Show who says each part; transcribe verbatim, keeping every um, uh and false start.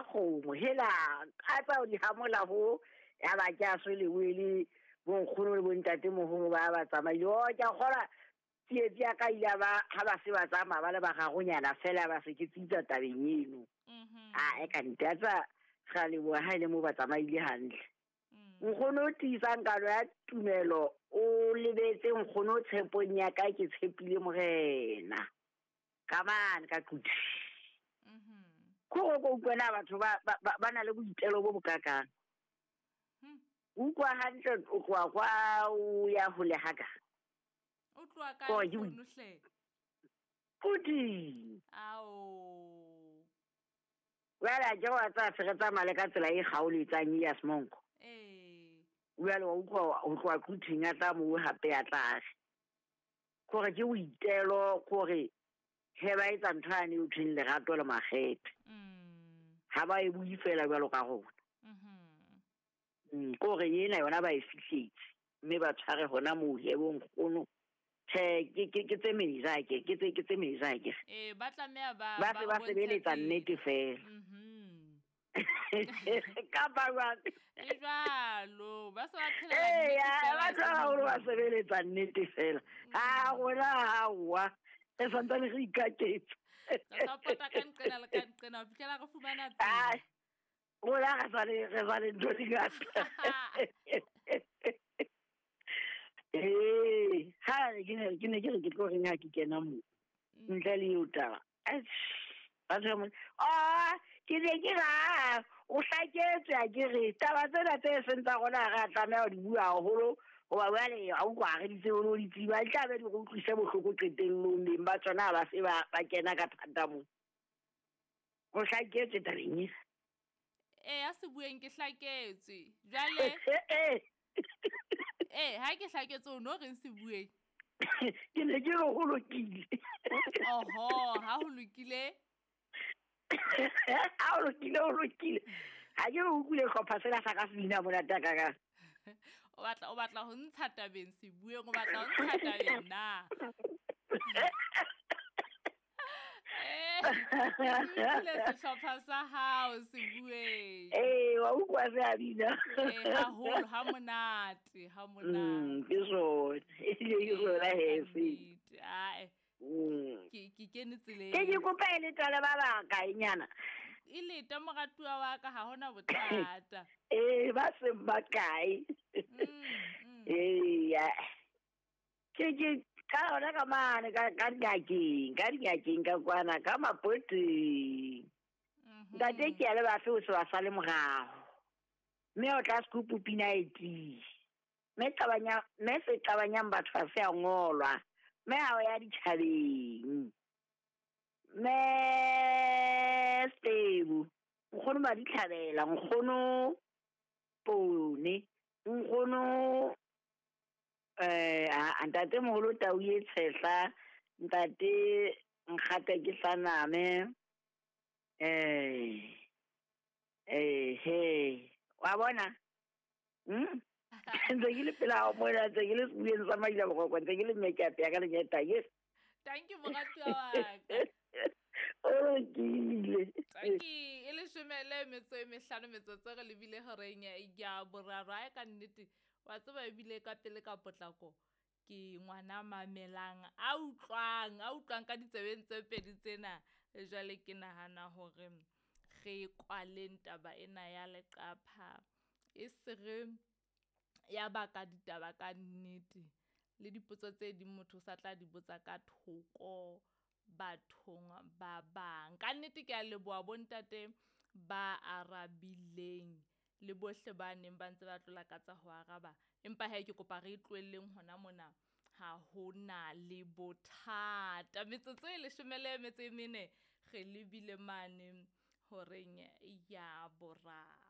Speaker 1: kgomo hela a tsa o di hamola ho ya ba ke a swele wele bonkgono le bontatemoholo ba ba tsamaile. O ke a kgolwa tsietsi ya ka ile ba ha ba se ba tsamaya ba le bararonyana fela ba se ke tsitsa tabeng eno. A e ka nnete a tsa ra leboha ha e le mo ba tsamaile hantle. Nkgono o tiisang kano ya tumelo o lebetse nkgono tshepong ya ka ke tshepile morena. Ka mane ka Quti. Ko go utlwa na batho ba ba na le boitelo bo bokakang. Utlwa hantle o tloha kwa o ya hole haka.
Speaker 2: O tloha kae nkgono hle?
Speaker 1: Quti.
Speaker 2: Ao.
Speaker 1: Jwale ke wa tsa se re tsamaya le ka tsela e kgaoletsang ya Semonko.
Speaker 2: Eh.
Speaker 1: Jwale wa utlwa ho tloha Quthing ya tla moo hape ya tlase. Kore ke boitelo kore he ba etsa ntho yane eo thweng lerato le makgethe.
Speaker 2: Mm.
Speaker 1: Ha ba e bue fela jwalo ka rona.
Speaker 2: Mhm.
Speaker 1: Mm, kore ena yona ba e fihletse mme ba tshware hona moo he bo nkgono. Tjhe, ke ke ke tse meja ke ke tse ke tse meja ke.
Speaker 2: Eh, ba tlameha ba
Speaker 1: ba se ba sebeletsa nnete fela.
Speaker 2: Mhm.
Speaker 1: Ka ba jwang?
Speaker 2: E jwalo, ba se ba phela
Speaker 1: Eh,
Speaker 2: nnete
Speaker 1: ya,
Speaker 2: fela,
Speaker 1: ba
Speaker 2: e
Speaker 1: tla
Speaker 2: seng
Speaker 1: haholo ba sebeletsa nnete fela. Ha rona ha wa. Re santsane re ikaketsa.
Speaker 2: Re sa pota ka nqena le ka nqena ho fihlela re fumana tsela.
Speaker 1: Ai, rona re sa le re sa le ntho di ngata. Eh, ha ke ne ke ne ke re ke tlo reng ha ke kena moo. Ntle le eo taba. Batho ba mo, ah, ke ne ke ra, o hlaketswe ha ke re taba tsena tse seng tsa rona ha re a tlameha ho di bua haholo. Hoba jwale ha o utlwa ha re di tsebe le ho di tseba, di tla be di re utlwise bohloko qetellong, beng ba tsona ha ba se ba ba kena ka thata moo. O hlaketswe tabeng ena.
Speaker 2: Eh, ya se bueng ke hlaketswe. Jwale Eh, ha ke hlaketswe o no reng se bueng?
Speaker 1: Ke ne ke re ho lokile.
Speaker 2: Oho, ha ho lokile?
Speaker 1: Ha ho lokile, ho lokile. Ha ke re utlwile hlopha sena sa ka se bina monate a kakang.
Speaker 2: O batla, o batla ho ntsha tabeng se bueng, o batla ho ntsha tabeng na? Eh, ke sehlopha sa hao se bueng.
Speaker 1: Eh, wa utlwa se a bina.
Speaker 2: Eh, haholo, ha monate, ha monate.
Speaker 1: Mm, ke sona. Ebile ke sona he se.
Speaker 2: Nnete, ae.
Speaker 1: Mm.
Speaker 2: Ke, ke kene tseleng.
Speaker 1: Ke ke kopa e leta le ba bakae nyana?
Speaker 2: E leta moratuwa wa ka, ha hona bothata.
Speaker 1: Eh, ba seng ba kae.
Speaker 2: Mm, mm.
Speaker 1: Eh, ya. Ke ke ka hona ka mane, ka, ka dingakeng, ka dingakeng ka kwana, ka mapoteng.
Speaker 2: Mhm.
Speaker 1: Ntate ke a le bafe o se ba sale morao. Mme o tla scoop pina e tiye. Mme qabanya, mme se qabanyang batho ha se a ngolwa. Mme ha o ya ditjhabeng. Mme Stebu, nkgono ba ditlhabela, nkgono Pone, nkgono eh, a, ntate moholo Tau e Tshehla, ntate Nkgata ke Hlaname. Eh, eh, he, wa bona? Hmm? Ntse ke le pela hao mona, ntse ke le sebuyeng sa Maila Boroko, ntse ke le mme ke apeya ka lenyeta, yes.
Speaker 2: Thank you, moratuwa wa ka.
Speaker 1: O lokile.
Speaker 2: Thank you. E leshome le metso e mehlano metsotso re lebile horeng ya boraro. Ae ka nnete, wa tseba ebile ka pele ka potlako ke ngwana mamelang, a utlwang, a utlwang ka ditsebeng tse pedi tsena. Jwale ke nahana hore re kwaleng taba ena ya leqapha, e se re ya baka ditaba ka nnete. Le dipotso tse ding motho o sa tla di botsa ka thoko bathong ba bang. Ka nnete ke a leboha bontate ba arabileng le bohle ba neng ba ntse ba tlola ka tsa ho araba. Empa he ke kopa re e tlohelleng hona mona, ha hona le bothata. Metsotso e leshome le metso e mene re lebile mane horeng ya boraro.